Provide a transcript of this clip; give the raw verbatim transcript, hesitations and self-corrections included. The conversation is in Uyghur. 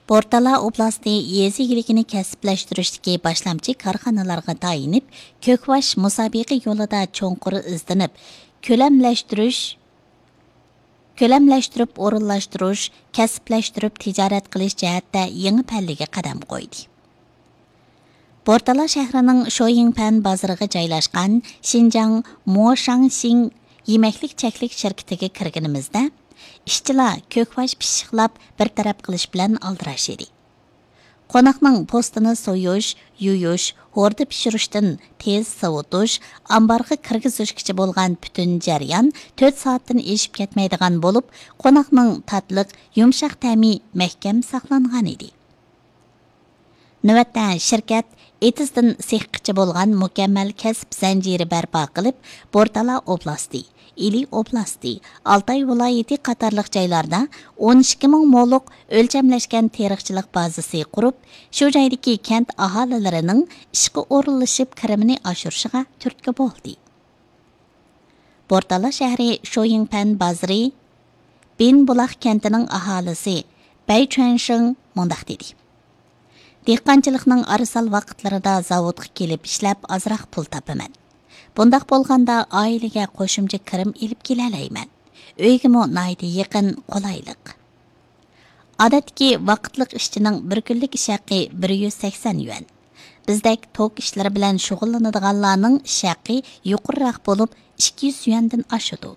بورتالا ئوبلاستى يېزا ئىگىلىكىنى كەسىپلەشتۈرۈشتىكى باشلامچى كارخانىلارغا تايىنىپ، كۆكباش مۇسابىقە يولىدا چوڭقۇر ئىزدىنىپ، كۆلەملەشتۈرۈش، كۆلەملەشتۈرۈپ ئورۇنلاشتۇرۇش، كەسىپلەشتۈرۈپ تىجارەت قىلىش جەھەتتە يېڭى پەللىگە قەدەم قويدى. بورتالا شەھىرىنىڭ شويىڭپەن بازىرىغا جايلاشقان شىنجاڭ موشاڭشىڭ يېمەكلىك چەكلىك شىركىتىگە كىرگىنىمىزدە، ئىشچىلار كۆكباش پىششىقلاپ بىر تەرەپ قىلىش بىلەن ئالدىراش ئىدى. قوناقنىڭ پوستىنى سويۇش، يۇيۇش، ھوردا پىشۇرۇشتىن تېز سوۋۇتۇش، ئامبارغا كىرگۈزۈشكىچە بولغان پۈتۈن جەريان تۆت سائەتتىن ئېشىپ كەتمەيدىغان بولۇپ، قوناقنىڭ تاتلىق، يۇمشاق تەمى مەھكەم ساقلانغان ئىدى. نۆۋەتتە شىركەت ئېتىزدىن سېخقىچە بولغان مۇكەممەل كەسىپ زەنجىرى بەرپا قىلىپ، بورتالا ئوبلاستى، ئىلى ئوبلاستى، ئالتاي ۋىلايىتى قاتارلىق جايلاردا ئون ئىككى مىڭ مولۇق ئۆلچەملەشكەن تېرىقچىلىق بازىسى قۇرۇپ، شۇ جايدىكى كەنت ئاھالىلىرىنىڭ ئىشقا ئورۇنلىشىپ كىرىمىنى ئاشۇرۇشىغا تۈرتكە بولدى. بورتالا شەھىرى شويىڭپەن بازىرى بىنبۇلاق كەنتىنىڭ ئاھالىسى بەي چۈەنشىڭ مۇنداق دېدى: دېھقانچىلىقنىڭ ئارىسال ۋاقىتلىرىدا زاۋۇتقا كېلىپ ئىشلەپ ئازراق پۇل تاپىمەن. بۇنداق بولغاندا ئائىلىگە قوشۇمچە كىرىم ئېلىپ كېلەلەيمەن. ئۆيگىمۇ ناھايىتى يېقىن، قولايلىق. ئادەتتىكى ۋاقىتلىق ئىشچىنىڭ بىر كۈنلۈك ئىش ھەققى بىر يۈز سەكسەن يۈەن. بىزدەك توك ئىشلىرى بىلەن شۇغۇللىنىدىغانلارنىڭ ئىش ھەققى يۇقىرىراق بولۇپ، ئىككى يۈز يۈەندىن ئاشىدۇ.